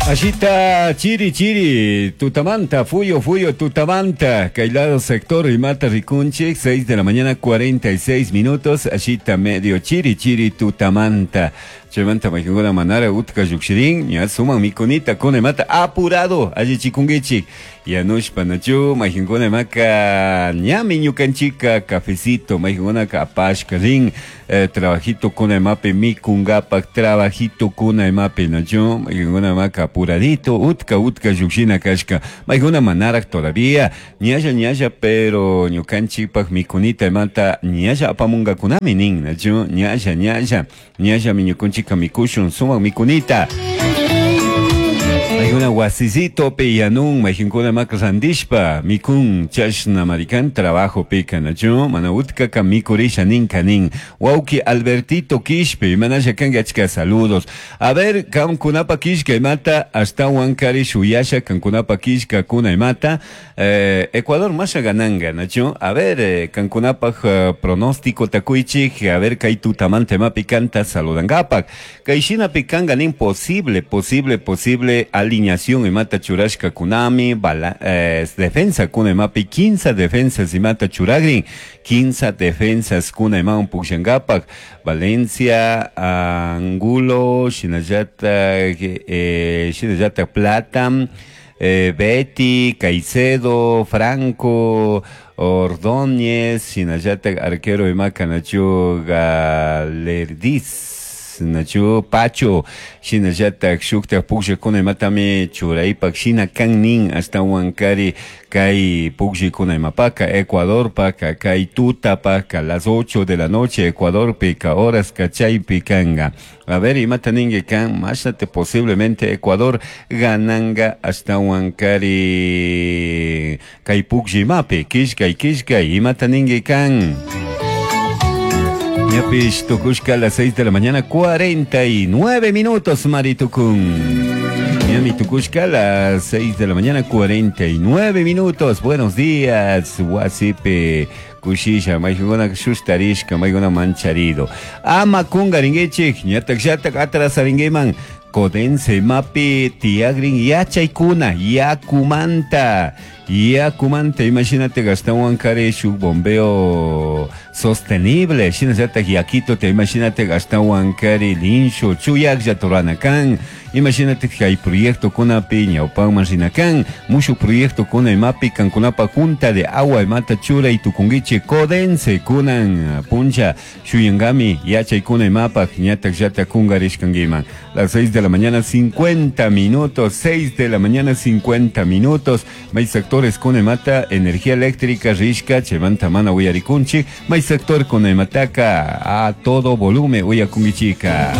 Ashita chiri chiri tutamanta, fuyo fuyo tutamanta, kay lado sector imata rikunchik, 6 de la mañana 46 minutos, ashita medio chiri chiri tutamanta. Chaymanta maykankuna manara utka llukshirin, ña suman mikunita kuna imata apurado allichikunkichik. Yanushpa nachu maykankuna imaka ñami ñukanchika cafecito, maykankunaka apashka rin trabajito kuna imapi mikungapak, trabajito kuna imapi nachu maykankuna imaka apuradito utka utka llukshina kashka, maykuna manaraj todavía ñalla ñalla pero ñukanchikpak mikunita imata ñalla apamungakunami nin nachu ñalla ñalla ñallami ñukanchika mikushun sumak mikunita. Maykuna wasisitopi yanun, maykankuna maka randishpa mikun chashna marikan trabajo pika nachu mana utkaka mikurisha ninka nin. Wawki Albertito Quishpe, imanasha kanki achka saludos. A ver, kankunapa kishka imata ashtawan kari shuyasha kankunapa kishka kuna imata Ecuador masha gananga nachu. A ver, kankunapaj pronóstico takuychik, a ver kay tutamanta imapi kanta saludangapak. Kay shinapi kanga nin posible, posible, posible alineación imata churashka kunami, bala, defensa kuna imapi, 15 defensas imata churagrin, 15 defensas kuna imawan pukshangapak, Valencia, Angulo, shinallata Plata, Betty, Caicedo, Franco, Ordóñez, shinallata arquero imaka nachu Galerdiz, nachu Pacho, shinallata shukta pukllakuna imatami churaypak shina kan nin ashtawan kari kay pukllakuna imapaka Ecuadorpaka kay tutapaka las 8 de la noche Ecuadorpika horas kachaypi kanga. A ver, imata ninki kan mashnate posiblemente Ecuador gananga ashtawan kari kay pukllimapi kishkay kishkay imata ninki kan. Ñapish tukushka a las 6 de la mañana 49 minutos maritukun. Ñami tukushka a las 6 de la mañana 49 minutos. Buenos días, wasipi kushisha, maykuna shustarishka, maykuna mancharido. Ama kungaringuichik, ñatak llatak atrasaringuiman. Codense mapi tiagrin yachaykuna yakumanta yakumanta imagínate gastawan kari shuk bombeo sostenible shinallatak yakito te imagínate gastawan kari linsho chuyaklla turana kan imagínate kay proyecto kunapi ñawpanman rina kan mushu proyecto kuna imapi kankunapa junta de agua imata churay tukunkichik Codense kunan puncha shuyangami yachaykuna imapak ñatak llatak kungarishkankiman. Las 6 de la mañana 50 minutos, 6 de la mañana 50 minutos. May sectores con emata energía eléctrica rishka chaymanta mana uyarikunchik. May sector con emataka a todo volumen uyakunkichika.